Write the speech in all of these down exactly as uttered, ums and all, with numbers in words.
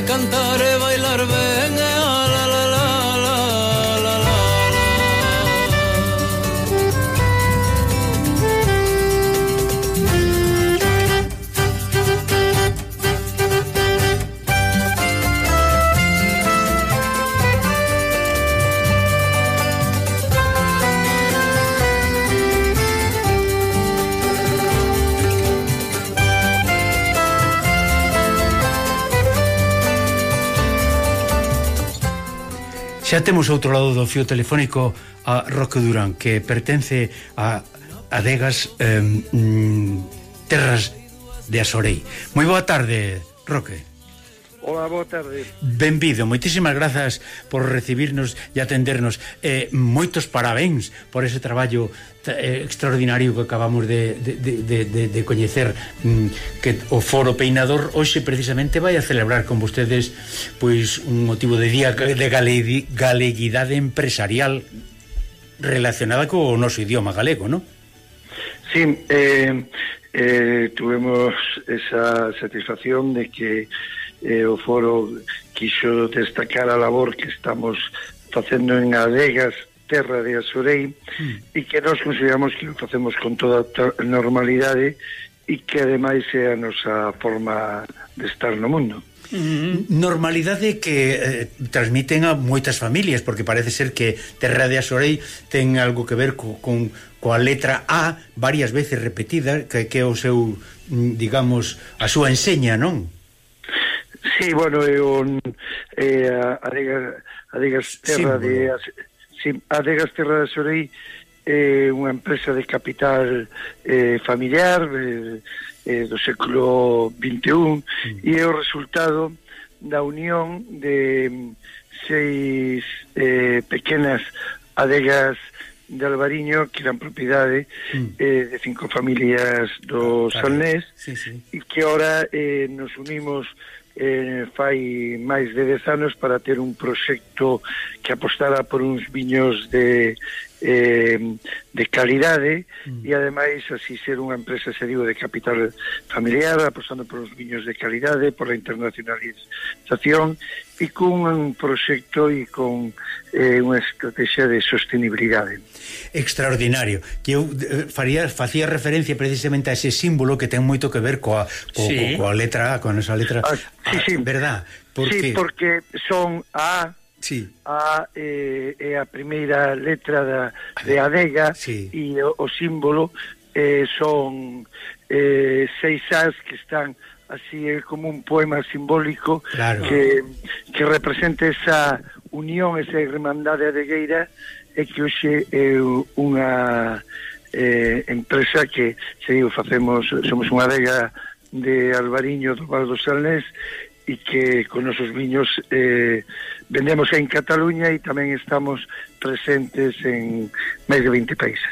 cantar e bailar ben, e a la la la la la la. Xa temos outro lado do fío telefónico a Roque Durán, que pertence a Adegas eh, mm, Terras de Asorei. Moi boa tarde, Roque. Hola, boa tarde. Benvido, moitísimas grazas por recibirnos e atendernos. Eh, moitos parabéns por ese traballo eh, extraordinario que acabamos de, de, de, de, de coñecer, mm, que o Foro Peinador hoxe precisamente vai a celebrar con vostedes pois un motivo de día de gale, galeguidade empresarial relacionada co noso idioma galego, non? Sí, eh, eh, tuvemos esa satisfacción de que eh, o foro quixo destacar a labor que estamos facendo en Adegas, terra de Asorei, mm. e que nós consideramos que o facemos con toda normalidade e que ademais é a nosa forma de estar no mundo. Normalidade que eh, transmiten a moitas familias, porque parece ser que Terra de Asorei ten algo que ver co, con coa letra A varias veces repetida, que, que é o seu, digamos, a súa enseña, non? Sí, bueno, é un eh, Adegas, Adegas Terra sí, de sí, Adegas Terra de Asorei é eh, unha empresa de capital eh, familiar eh, eh, do século vinte e un, mm. e é o resultado da unión de seis eh, pequenas adegas de Albariño que eran propiedade mm. eh, de cinco familias do ah, Salnés, sí, sí. e que ahora eh, nos unimos eh, fai máis de dez anos para ter un proxecto que apostara por uns viños de eh, de calidade mm. e ademais así ser unha empresa, se digo, de capital familiar, apostando por uns viños de calidade, por a internacionalización e con un proxecto e con eh, unha estrategia de sostenibilidade. Extraordinario. Que eu eh, faría, facía referencia precisamente a ese símbolo que ten moito que ver coa, co, sí. co, coa letra A, con esa letra ah, sí, A, sí. verdad? Porque... Sí, porque son A. Sí. A é eh, a primeira letra da, de Adega, sí. E o, o símbolo eh, son eh, seis As que están así, é como un poema simbólico, claro. que, que representa esa unión, esa irmandade adegueira, e que hoxe é unha eh, empresa que, se digo, facemos, somos unha adega de Albariño do Val do Salnés, e que con nosos viños eh, vendemos en Cataluña e tamén estamos presentes en máis de vinte países.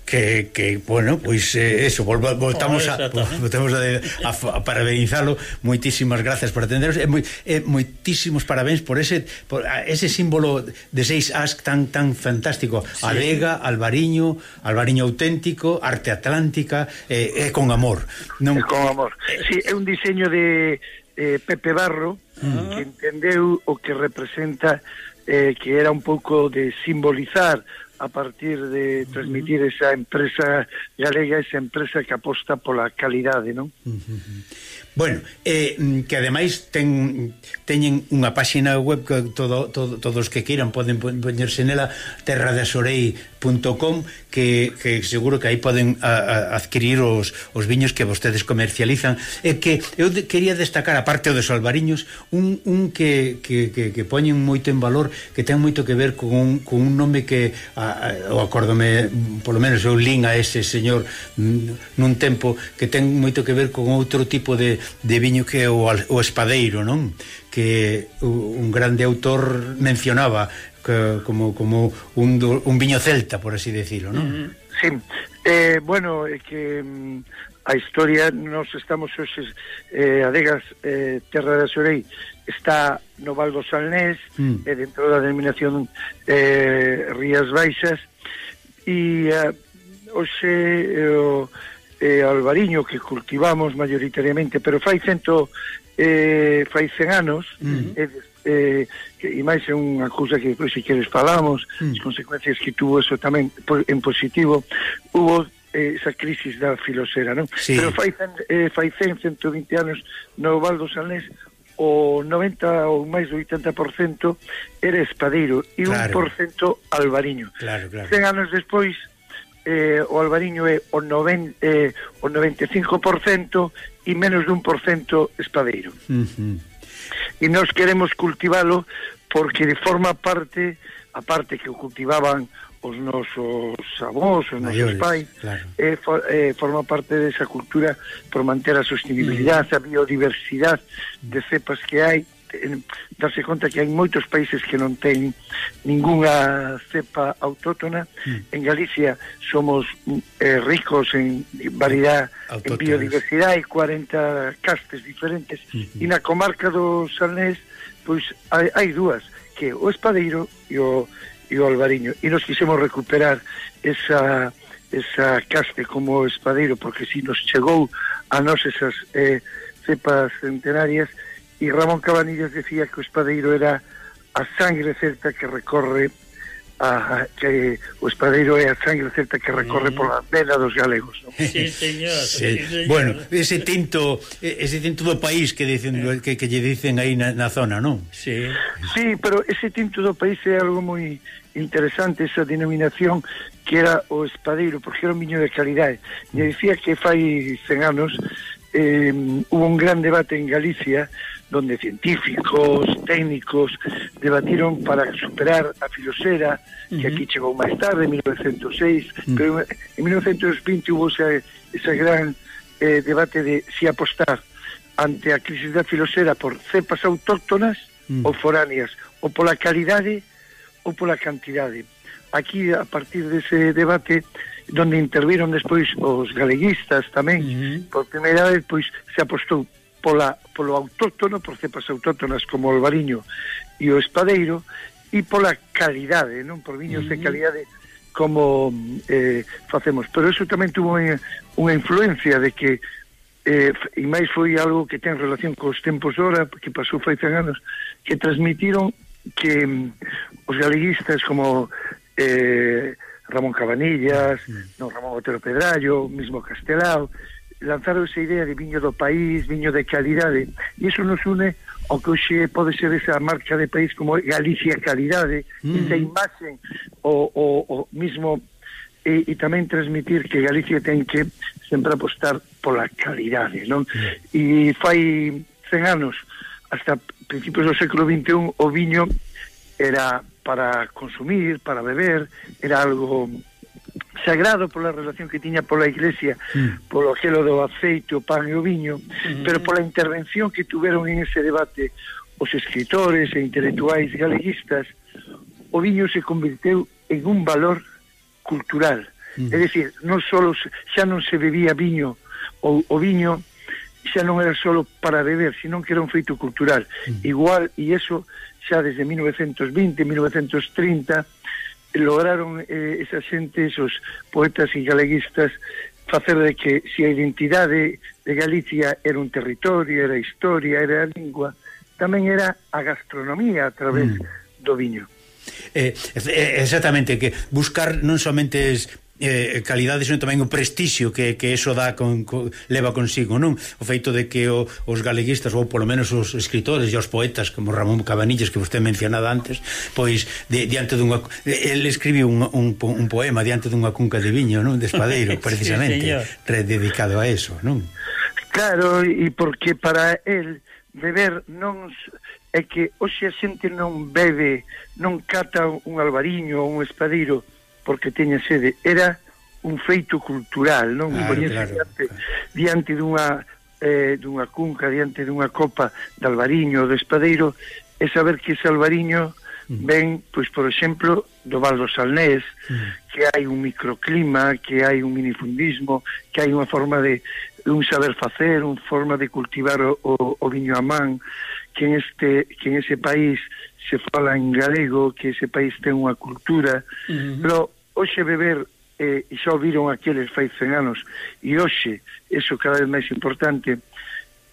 Que, que bueno, pois eh, eso, volva, voltamos, oh, a, voltamos a, a, a parabenizalo. Moitísimas gracias por atenderos e moi, eh, moitísimos parabéns por ese por ese símbolo de seis as tan tan fantástico, sí. Adega, Albariño, Albariño auténtico, arte atlántica, e eh, eh, con amor, non? É con amor. Sí, é un diseño de eh, Pepe Barro, mm. que entendeu o que representa, eh, que era un pouco de simbolizar a partir de transmitir esa empresa galega, esa empresa que aposta pola calidade, non? Bueno, eh, que ademais ten, teñen unha páxina web que todo, todo, todos que queiran poden poñerse nela, terra de asorei punto com, que, que seguro que aí poden a, a adquirir os, os viños que vostedes comercializan. E que eu de, quería destacar, aparte dos albariños, un, un que, que, que, que poñen moito en valor, que ten moito que ver con un, con un nome que a, a, o acórdome, polo menos eu lín a ese señor nun tempo, que ten moito que ver con outro tipo de de viño que é o, o espadeiro, non? Que un grande autor mencionaba que, como, como un, un viño celta, por así decirlo, non? Sí, eh, bueno, é que um, a historia, nos estamos hoxe eh, Adegas, eh, terra de Asorei está no Val do Salnés, mm. eh, dentro da denominación eh, Rías Baixas, e eh, hoxe eh, o eh, albariño que cultivamos mayoritariamente, pero fai cento eh, fai cen anos, mm. eh, eh, que, e máis é unha cousa que depois se queres falamos, mm. as consecuencias que tuvo eso tamén en positivo, hubo eh, esa crisis da filosera, non? Sí. Pero fai cen, eh, fai cen, cento vinte anos no Val do Salnés o noventa ou máis do oitenta por cento era espadeiro e claro. un por cento albariño. Claro, claro. cen anos despois eh, o albariño é o, noven, eh, o noventa e cinco por cento e menos dun por cento espadeiro. Uh-huh. E nós queremos cultivalo porque forma parte, a parte que o cultivaban os nosos avós, os nosos pais, claro. eh, for, eh, forma parte desa cultura por manter a sostenibilidade, uh-huh. a biodiversidade de cepas que hai, darse conta que hai moitos países que non ten ninguna cepa autóctona. Mm. En Galicia somos eh, ricos en variedade, en biodiversidade, hai cuarenta castes diferentes, mm-hmm. e na comarca do Salnés pois hai, hai dúas, que o espadeiro e o, e o albariño, e nos quisemos recuperar esa, esa caste como o espadeiro, porque si nos chegou a nós esas eh, cepas centenarias. E Ramón Cabanillas decía que o espadeiro era a sangre celta que recorre a, que o espadeiro é a sangre celta que recorre mm. pola vena dos galegos, ¿no? Sí, señor, sí. Sí, señor. Bueno, ese tinto ese tinto do país que dicen eh. que, que lle dicen aí na, na zona, non? Sí. Sí, pero ese tinto do país é algo moi interesante, esa denominación que era o espadeiro, porque era un viño de calidade. E dicía que fai cen anos eh, hubo un gran debate en Galicia donde científicos, técnicos debatiron para superar a filosera, uh-huh. que aquí chegou máis tarde, en mil novecientos seis, uh-huh. pero en mil novecientos vinte hubo ese, ese gran eh, debate de si apostar ante a crisis da filosera por cepas autóctonas uh-huh. ou foráneas, ou pola calidade ou pola cantidade. Aquí, a partir dese debate, donde interviron despois os galeguistas tamén, uh-huh. por primeira vez, pois se apostou pola, polo autóctono, por cepas autóctonas como o albariño e o espadeiro, e pola calidade, non por viños uh-huh. de calidade como eh, facemos. Pero eso tamén tuvo unha, unha influencia de que eh, e máis foi algo que ten relación cos tempos ora, que pasou fai cen anos, que transmitiron que um, os galeguistas como eh, Ramón Cabanillas, uh-huh. non, Ramón Otero Pedrallo, mismo Castelao, lanzaron esa idea de viño do país, viño de calidade, e iso nos une ao que hoxe pode ser esa marca de país como Galicia Calidade, mm. esa imaxe o, o, o mismo e, e tamén transmitir que Galicia ten que sempre apostar pola calidade, non? Mm. E fai cen anos, hasta principios do século vinte e un, o viño era para consumir, para beber, era algo sagrado pola relación que tiña pola Iglesia, mm. polo aquelo do aceite, o pan e o viño, mm. pero pola intervención que tuveron en ese debate os escritores e intelectuais galeguistas, o viño se converteu en un valor cultural. Mm. É dicir, non solo xa non se bebía viño, o, o viño xa non era solo para beber, sino que era un feito cultural. Mm. Igual, e eso xa desde mil novecientos vinte, mil novecientos trinta, lograron eh, esa xente, esos poetas e galeguistas, facer de que se a identidade de Galicia era un territorio, era a historia, era a lingua, tamén era a gastronomía a través mm. do viño. Eh, exactamente, que buscar non somente es eh, calidade, senón tamén o prestixio que, que eso dá con, con, leva consigo, non? O feito de que o, os galeguistas, ou polo menos os escritores e os poetas como Ramón Cabanillas, que vostè mencionaba antes, pois de, diante dunha, ele escribiu un, un, un poema diante dunha cunca de viño, non? De espadeiro, precisamente, sí, dedicado a eso, non? Claro, e porque para el beber non é que hoxe a xente non bebe, non cata un albariño ou un espadeiro porque teña sede, era un feito cultural, non? Claro, claro, diante, claro. diante dunha eh, dunha cunca, diante dunha copa de albariño ou de espadeiro, é saber que ese albariño mm. ven, pois, por exemplo, do Val do Salnés, mm. que hai un microclima, que hai un minifundismo, que hai unha forma de un saber facer, unha forma de cultivar o, o, o viño a man, que en este que en ese país se fala en galego, que ese país ten unha cultura, uh-huh. pero hoxe beber, eh, e xa viron aqueles fai cen anos, e hoxe, eso cada vez máis importante,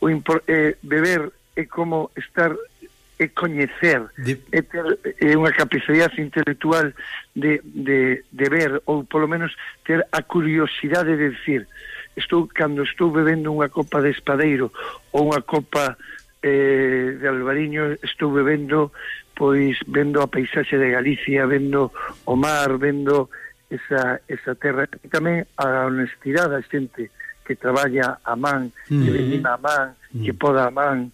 o impor, eh, beber é como estar é coñecer, de... é ter é unha capacidade intelectual de, de, de ver, ou polo menos ter a curiosidade de decir, estou cando estou bebendo unha copa de espadeiro ou unha copa eh, de albariño, estou bebendo pois vendo a paisaxe de Galicia, vendo o mar, vendo esa, esa terra, e tamén a honestidade da xente que traballa a man, mm. que vendima a man, mm. que poda a man.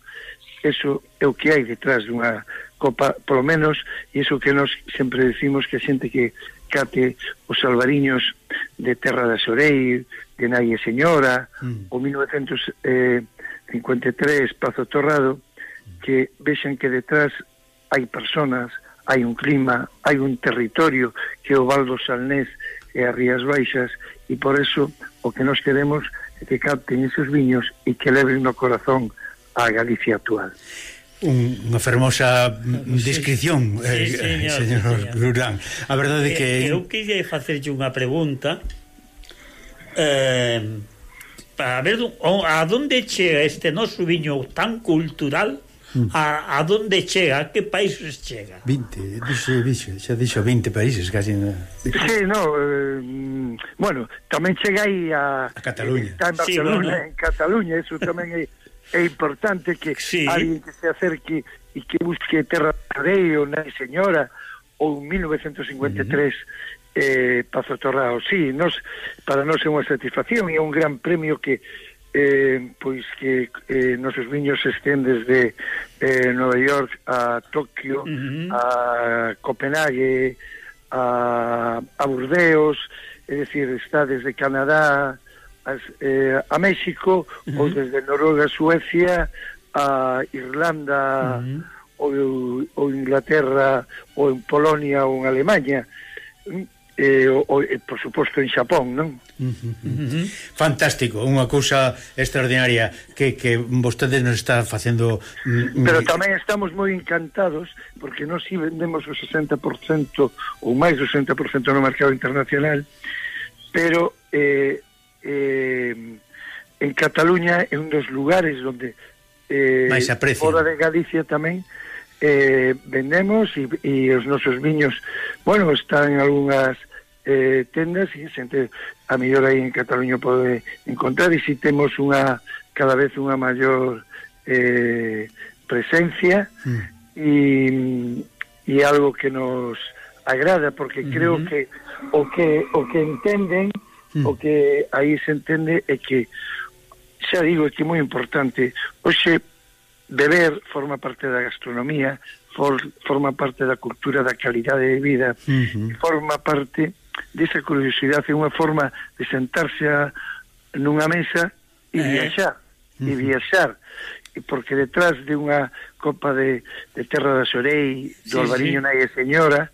Eso é o que hai detrás dunha copa, polo menos, e iso que nós sempre decimos, que a xente que cate os albariños de Terra da Xorei, de Nai e Señora, mm. o mil novecentos cincuenta e tres Pazo Torrado, que vexan que detrás hai personas, hai un clima, hai un territorio que é o Val do Salnés e as Rías Baixas, e por eso o que nos queremos é que capten esos viños e que leven no corazón a Galicia actual. Un, unha fermosa descripción, sí, sí, eh, señor, señor Durán. A verdade é que... Eu queria facerlle unha pregunta eh, para ver a donde chega este noso viño tan cultural, a, a donde chega, a que países chega? vinte, dixe, dixe, xa dixo vinte países casi. Sí, no, eh, bueno, tamén chega aí a, a Cataluña. Está en Barcelona, sí, bueno. En Cataluña, eso tamén é é importante que sí. Alguén que se acerque e que busque Terra Rei ou Nai Señora ou mil novecentos cincuenta e tres uh-huh. eh, Pazo Torrado. Sí, nos, para nós é unha satisfacción e é un gran premio que eh, pois que eh, nosos viños estén desde eh, Nova York a Tokio, uh-huh. a Copenhague, a, a Burdeos, é dicir, está desde Canadá As, eh, a México, uh-huh. ou desde Noruega, Suecia, a Irlanda, uh-huh. ou, ou Inglaterra, ou en Polonia, ou en Alemanha, eh, ou, ou, por suposto en Xapón, non? Uh-huh. Uh-huh. Fantástico, unha cousa extraordinaria que, que vostedes nos está facendo. Pero tamén estamos moi encantados porque nós si vendemos o sesenta por cento ou máis do sesenta por cento no mercado internacional, pero eh, Eh, en Cataluña é un dos lugares onde eh, fora de Galicia tamén eh, vendemos e, e os nosos viños, bueno, están en algunhas eh, tendas e xente a mellor aí en Cataluña pode encontrar, e si temos unha cada vez unha maior eh, presencia mm. e, e algo que nos agrada porque mm-hmm. creo que o que o que entenden o que aí se entende é que, xa digo, é que é moi importante. Hoxe, beber forma parte da gastronomía, for, forma parte da cultura da calidade de vida, uh-huh. forma parte desa curiosidade, é unha forma de sentarse a, nunha mesa e eh. viaxar, uh-huh. e viaxar, porque detrás de unha copa de, de Terra da Xorei, do sí, Albariño sí. Nai e Señora,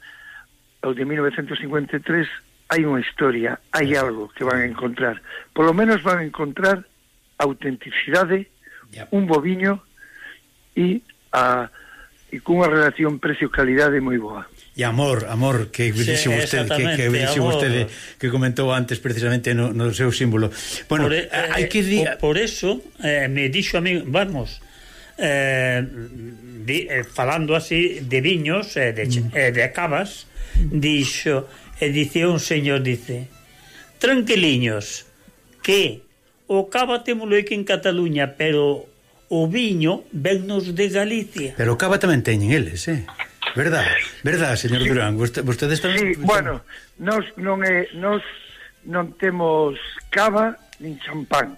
o de mil novecentos cincuenta e tres, hai unha historia, hai algo que van a encontrar. Por lo menos van a encontrar autenticidade, yep. un bo viño e a e cunha relación precio-calidade moi boa. E amor, amor, que dixo sí, vostede, que, que, dixo vostede, que comentou antes precisamente no, no seu símbolo. Bueno, por, eh, hai que di... por eso eh, me dixo a mí, vamos, eh, di, eh, falando así de viños, eh, de, mm. eh, de cavas, dixo, e dice un señor, dice, tranquiliños, que o cava témolo aquí en Cataluña, pero o viño vennos de Galicia. Pero o cava tamén teñen eles, eh? Verdad, verdad, señor sí. Durán, Vost vostedes tamén... Sí, bueno, nos non é nos non temos cava nin champán.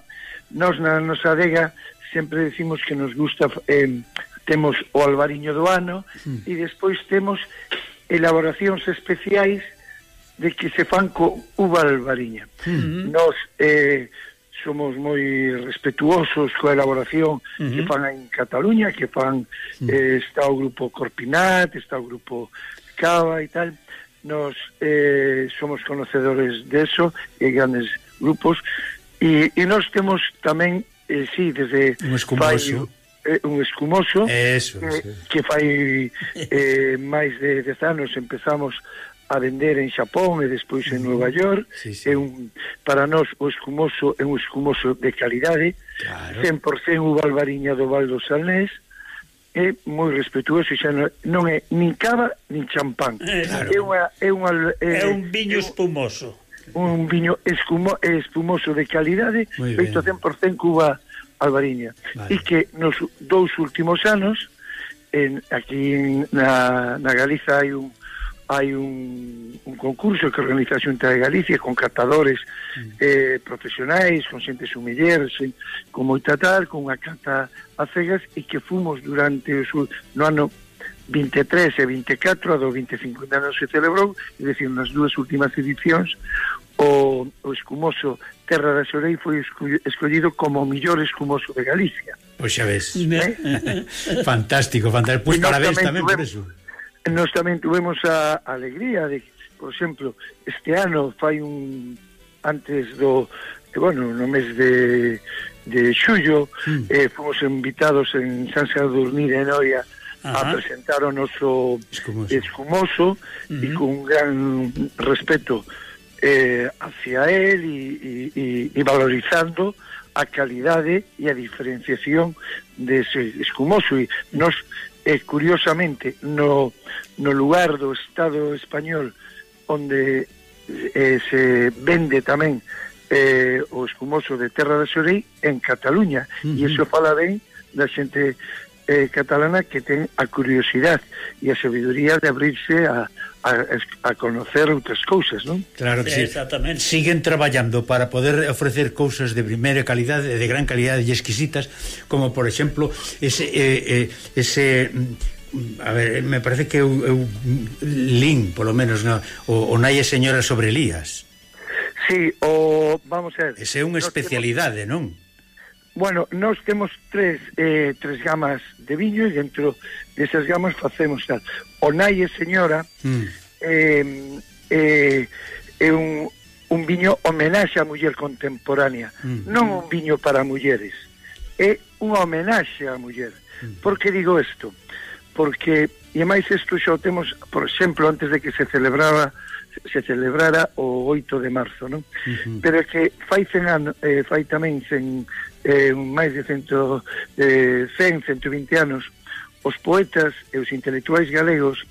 Nos na nosa adega sempre decimos que nos gusta eh, temos o albariño do ano mm. e despois temos elaboracións especiais de que se fan co uva albariña. Mm-hmm. Nos eh, somos moi respetuosos coa elaboración mm-hmm. que fan en Cataluña, que fan mm. eh, está o grupo Corpinat, está o grupo Cava e tal. Nos eh, somos conocedores de eso, e grandes grupos, e, e nos temos tamén, eh, sí, desde un escumoso, fai, eh, un escumoso eso, eh, sí. que fai eh, máis de dez anos empezamos a vender en Xapón e despois en Nova York. Sí, sí. É un, para nós o escumoso é un escumoso de calidade, claro. cen por cento uva albariña do Val do Salnés, é moi respetuoso, xa non, non é nin cava nin champán. Claro. É, unha, é, unha, É é, un viño é espumoso. un viño escumo, espumoso de calidade, feito cen por cento cuba albariña. Vale. E que nos dous últimos anos en, aquí en, na, na Galiza hai un hai un, un concurso que organiza a Xunta de Galicia con catadores mm. eh, profesionais, con xente sumiller, con moita tal, con unha cata a cegas, e que fomos durante o su, no ano vinte e tres e vinte e catro, a do vinte e cinco anos se celebrou, é dicir, nas dúas últimas edicións, o, o escumoso Terra da Xorei foi escollido como o mellor escumoso de Galicia. Pois xa ves. ¿Eh? Fantástico, fantástico. Pois parabéns tamén por eso. Nós tamén tuvemos a alegría de, por exemplo, este ano fai un antes do, eh, bueno, no mes de de xullo, mm. eh, fomos invitados en San Sadurní de Noia a presentar o noso escumoso, escumoso uh-huh. e con un gran respeto eh, hacia él e, e, e valorizando a calidade e a diferenciación dese escumoso. E nos E, curiosamente, no, no lugar do Estado español onde eh, se vende tamén eh, o escumoso de Terra da Xorei, en Cataluña. Uh-huh. E iso fala ben da xente eh, catalana que ten a curiosidade e a sabiduría de abrirse a, a, a conocer outras cousas, non? Claro que sí, sí. Exactamente. Siguen traballando para poder ofrecer cousas de primeira calidade, de gran calidade e exquisitas, como por exemplo ese eh, eh, ese a ver, me parece que eu, eu lin, polo menos, no, o, o Nai e Señora sobre Elías. Sí, o vamos a ver. Ese é unha especialidade, non? Bueno, nós temos tres eh, tres gamas de viño e dentro desas gamas facemos tal. O Nai e Señora mm. eh, eh, é un, un viño homenaxe á muller contemporánea, mm. non un viño para mulleres, é unha homenaxe á muller. Mm. Por que digo isto? Porque, e máis isto xa o temos, por exemplo, antes de que se celebrara se celebrara o oito de marzo, non? Uh-huh. Pero é que fai cen anos, eh, fai tamén cen, eh, máis de cento, eh, cen, cento e vinte anos, os poetas e os intelectuais galegos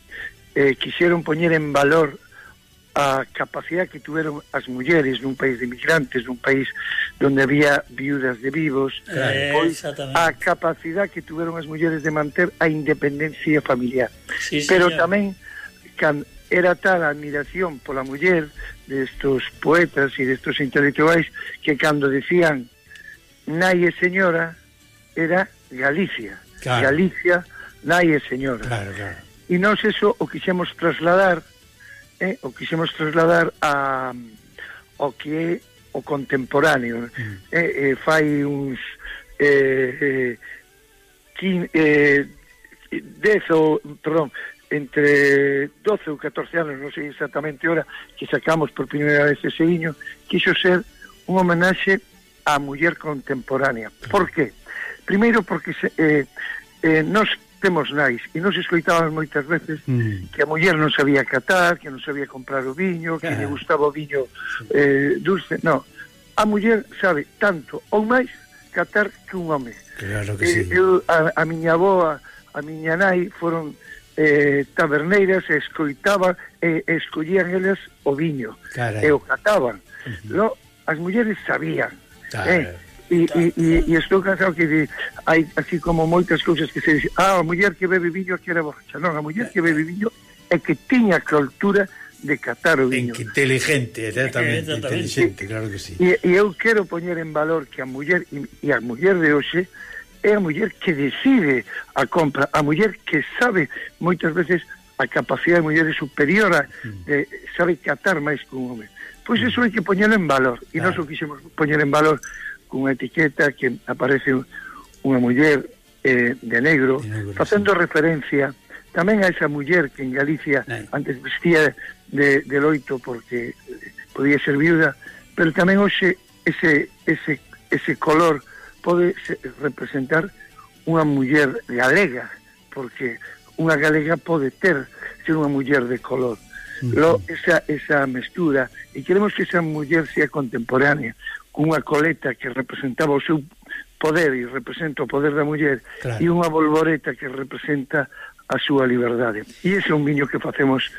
eh, quixeron poñer en valor a capacidade que tuveron as mulleres nun país de migrantes, nun país donde había viudas de vivos, eh, pois, a capacidade que tuveron as mulleres de manter a independencia familiar. Sí, pero señor. tamén can, era tal a admiración pola muller destos poetas e destos intelectuais que cando decían Nai e Señora era Galicia, claro. Galicia, Nai e Señora. Claro, claro. E nós eso o quixemos trasladar eh, o quixemos trasladar a o que é o contemporáneo. Mm. Eh, eh, fai uns eh, eh, quin, eh, dez ou, perdón, entre doce ou catorce anos, non sei exactamente ora, que sacamos por primeira vez ese viño, quixo ser un homenaxe á muller contemporánea. Por qué? Primeiro porque se, eh, eh, nós temos nais e nos escoitábamos moitas veces mm. que a muller non sabía catar, que non sabía comprar o viño, que lle gustaba o viño eh, dulce. No, a muller sabe tanto ou máis catar que un home. Claro que sí. Eh, eu, a, a miña avoa, a miña nai foron eh, taberneiras e escoitaban e eh, escollían elas o viño. Carai. E o cataban. Uh-huh. No, as mulleres sabían. Eh, e, e, e, e estou cansado que de, hai así como moitas cousas que se dice, ah, a muller que bebe viño que era borracha. Non, a muller que bebe viño é que tiña cultura de catar o viño. Inteligente, exactamente, inteligente, claro que sí. E, e eu quero poñer en valor que a muller e, e a muller de hoxe é a muller que decide a compra, a muller que sabe moitas veces a capacidade de muller é superior a, de, sabe catar máis que un home. Pois iso hai que poñelo en valor e claro. Nós o quixemos poñer en valor con unha etiqueta que aparece unha muller eh, de negro, de negro facendo sí. referencia tamén a esa muller que en Galicia Ay. antes vestía de, de loito porque podía ser viuda, pero tamén hoxe ese, ese, ese color pode representar unha muller galega, porque unha galega pode ter ser unha muller de color. Lo, esa, esa mestura, e queremos que esa muller sea contemporánea, cunha coleta que representaba o seu poder e representa o poder da muller, claro, e unha bolboreta que representa a súa liberdade. E ese é un viño que facemos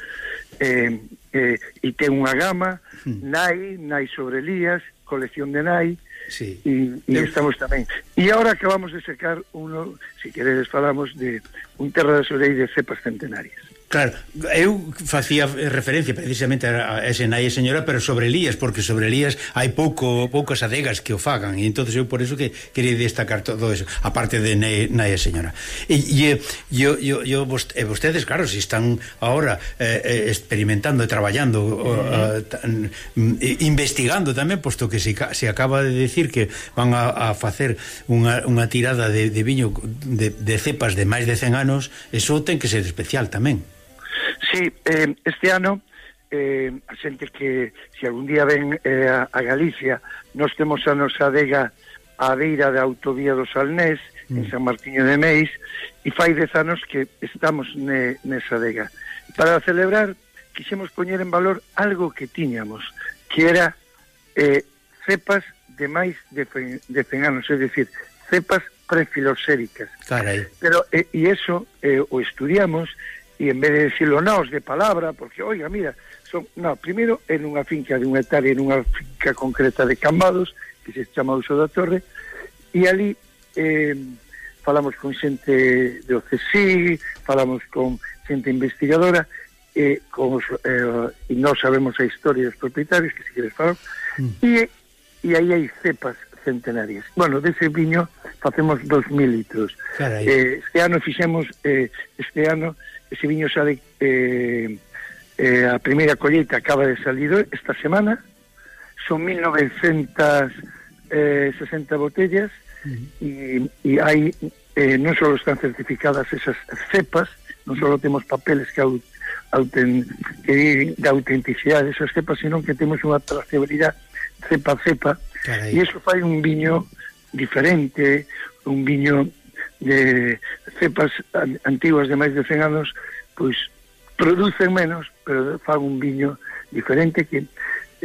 eh, eh, e ten unha gama, mm. Nai, Nai sobre Elías, colección de Nai, sí. e, e Eu... estamos tamén. E agora acabamos de sacar uno, se queredes falamos de un Terra de Sorei de cepas centenarias. Claro, eu facía referencia precisamente a ese Nai señora, pero sobre Elías, porque sobre Elías hai pouco poucas adegas que o fagan, e entonces eu por eso que quería destacar todo eso, aparte de Nai señora. E yo yo yo vostedes, claro, si están ahora eh, experimentando e traballando, uh, uh, investigando tamén, posto que se, se acaba de decir que van a, a facer unha, unha tirada de, de viño de, de cepas de máis de cen anos, eso ten que ser especial tamén. Sí, eh, este ano eh, a xente que se algún día ven eh, a, a Galicia, nós temos a nosa adega á beira da autovía do Salnés, mm. en San Martiño de Meis, e fai dez anos que estamos ne, nesa adega. Para celebrar, quixemos poñer en valor algo que tiñamos, que era eh, cepas de máis de, fe, de cen anos, é dicir, cepas prefiloséricas. Carai. Pero, eh, e eso eh, o estudiamos, e en vez de decirlo nós de palabra, porque, oiga, mira, son, no, primeiro en unha finca de unha hectárea, en unha finca concreta de Cambados, que se chama Uso da Torre, e ali eh, falamos con xente do C S I, falamos con xente investigadora, eh, con os, eh, e nós sabemos a historia dos propietarios, que se queres falar, mm. e, e aí hai cepas centenarias. Bueno, dese viño facemos dos mil litros. Eh, este ano fixemos, eh, este ano, ese viño sale, eh, eh, a primeira colleita acaba de salir esta semana, son mil novecentas sesenta botellas, uh-huh. e, e hai, eh, non só están certificadas esas cepas, non só temos papeles que, auten, que da autenticidade desas cepas, sino que temos unha trazabilidade cepa a cepa, e iso fai un viño diferente, un viño de cepas antiguas de máis de cen anos, pois producen menos, pero fan un viño diferente que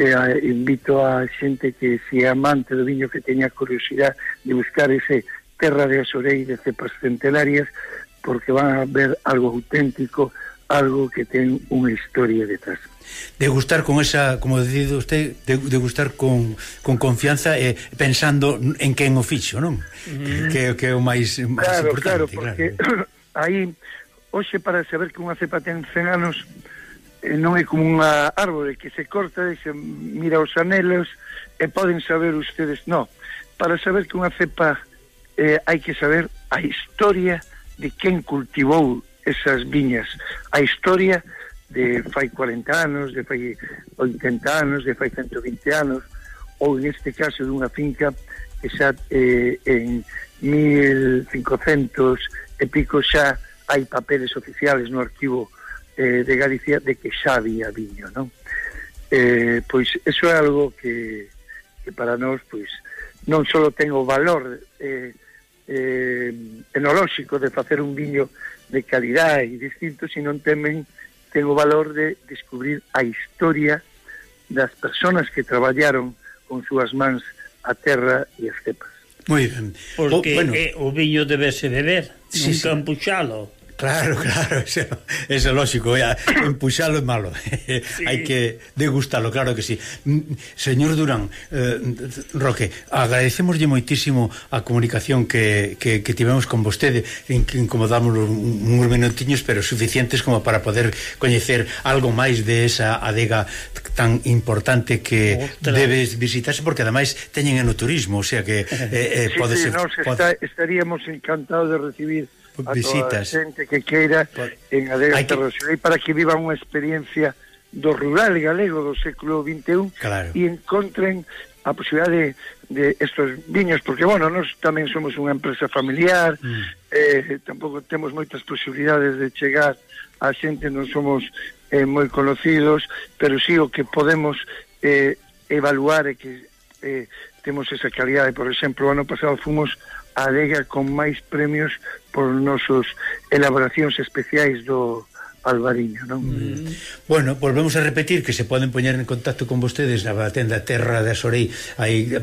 eh, invito a xente que se é amante do viño, que teña curiosidade de buscar ese Terra de Sorei de cepas centenarias, porque van a ver algo auténtico, algo que ten unha historia detrás. Degustar con esa, como decido usted, degustar con, con confianza, eh, pensando en quen o fixo, non? Mm. Que, que é o máis, máis claro, importante. Claro, porque claro. Aí, hoxe, para saber que unha cepa ten cen anos, eh, non é como unha árbore que se corta e se mira os anelos e poden saber ustedes, non. Para saber que unha cepa eh, hai que saber a historia de quen cultivou esas viñas, a historia de fai cuarenta anos, de fai oitenta anos, de fai ciento vinte anos, ou neste caso dunha finca que xa eh, en mil cincocentos e pico xa hai papeles oficiales no arquivo eh, de Galicia de que xa había viño, non? Eh, pois eso é algo que, que para nós pois non só ten o valor eh, eh, enolóxico de facer un viño de calidade e distinto, sino tamén ten o valor de descubrir a historia das persoas que traballaron con súas mans a terra e as cepas. Moi ben. Porque o, bueno, eh, o viño debese beber, sí, nunca sí. empuxalo. Claro, claro, eso, eso é lógico, empuxalo é malo, sí. Hai que degustalo, claro que sí. Señor Durán, eh, Roque, agradecemoslle moitísimo a comunicación que, que, que tivemos con vostede, en que incomodamos uns minutinhos, pero suficientes como para poder coñecer algo máis de esa adega tan importante que Otra. debes visitarse, porque ademais teñen enoturismo, o sea que eh, eh, sí, pode sí, ser... Nos pode... está, estaríamos encantados de recibir a visitas. toda a xente que queira en Adega Terra de Sorei para que vivan unha experiencia do rural galego do século vinte e un, claro. E encontren a posibilidade de, de estos viños, porque, bueno, nós tamén somos unha empresa familiar, mm. eh, tampouco temos moitas posibilidades de chegar a xente, non somos eh, moi conocidos, pero sí o que podemos eh, evaluar é que eh, temos esa calidade. Por exemplo, o ano pasado fomos a adega con máis premios por nosos elaboracións especiais do, Albariño, non? Mm. Bueno, volvemos a repetir que se poden poñer en contacto con vostedes na tenda terra de asorei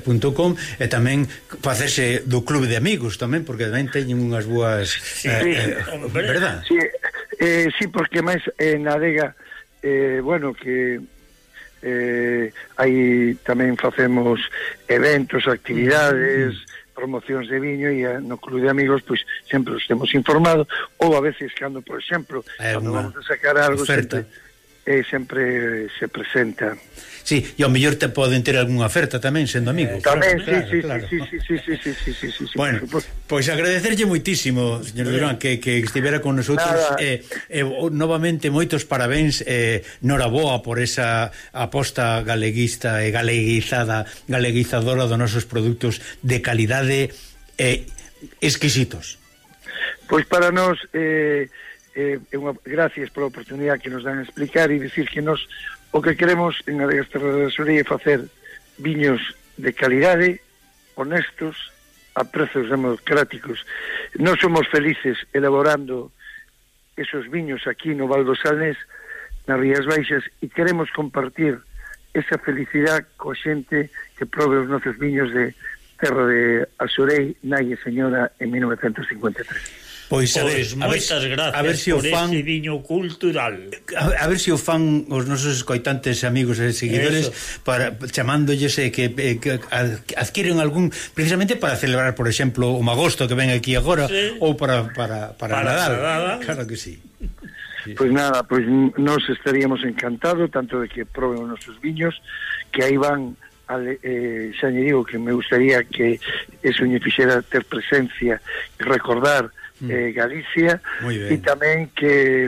punto com e tamén facerse do clube de amigos tamén, porque tamén teñen unhas boas sí, eh, sí, eh, verdad? Sí, eh, sí, porque máis eh, na adega eh, bueno, que eh, aí tamén facemos eventos, actividades, mm. promocións de viño, e no clube de amigos pois sempre os temos informado, ou a veces cando, por exemplo, cando vamos a sacar algo sempre, eh, sempre se presenta. Sí, e ao mellor te poden ter algunha oferta tamén sendo amigos. Eh, tamén, claro, sí, claro, sí, claro. sí, sí, sí, sí, sí, sí, sí, sí, bueno, pois pues agradecerlle moitísimo, señor Durán, que, que estivera con nosotros e eh, eh, novamente moitos parabéns, eh, noraboa por esa aposta galeguista e galeguizada galeguizadora dos nosos produtos de calidade eh, exquisitos. Pois para nós eh, eh, unha, gracias pola oportunidade que nos dan a explicar e dicir que nos o que queremos en Adegas Terra de Asorei é facer viños de calidade, honestos, a prezos democráticos. Nós somos felices elaborando esos viños aquí no Val do Salnés, nas Rías Baixas, e queremos compartir esa felicidade coa xente que probe os nosos viños de Terra de Asorei, nai e señora, en mil novecentos cincuenta e tres. Pois, a ver, pois moitas gracias a ver si por fan, ese viño cultural. A, a ver se si o fan os nosos escoitantes amigos e seguidores eso, para chamándolles eh, que, eh, que adquiren algún precisamente para celebrar, por exemplo, o magosto que ven aquí agora, sí, ou para para para, para Nadal. Nadal. Claro que sí. Sí. Pois nada, pois nos estaríamos encantados tanto de que proben os nosos viños, que aí van Ale, eh, xa lle digo que me gustaría que eso lle fixera ter presencia e recordar mm. eh, Galicia, e tamén que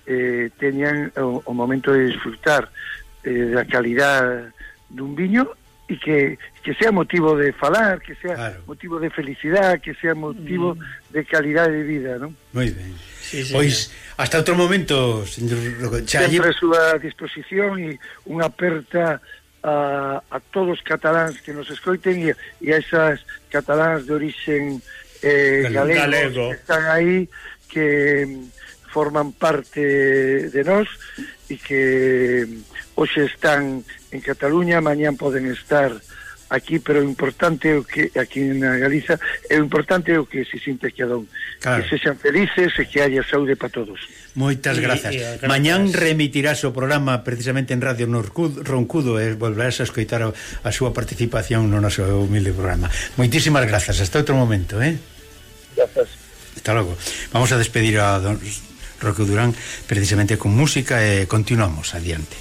eh, teñan o, o momento de disfrutar eh, da calidad dun viño e que, que sea motivo de falar, que sea claro, motivo de felicidade, que sea motivo mm. de calidad de vida, non? Moi ben. Sí, sí, pois hasta outro momento, señor Challe. Sempre a súa disposición e unha aperta A, a todos os cataláns que nos escoiten e, e a esas cataláns de orixen eh, galegos galego. Que están aí, que forman parte de nós e que hoxe están en Cataluña, mañán poden estar aquí, pero o importante é o que aquí na Galiza, é o importante é o que se sinte que adón, claro, que sexan felices e que haya saúde para todos. Moitas grazas. Y, y, grazas. Mañán remitirás o programa precisamente en Radio Norcudo, Roncudo e volverás a escoitar a, a súa participación no noso humilde programa. Moitísimas grazas. Hasta outro momento, eh? Grazas. Hasta logo. Vamos a despedir a don Roque Durán precisamente con música e continuamos adiante.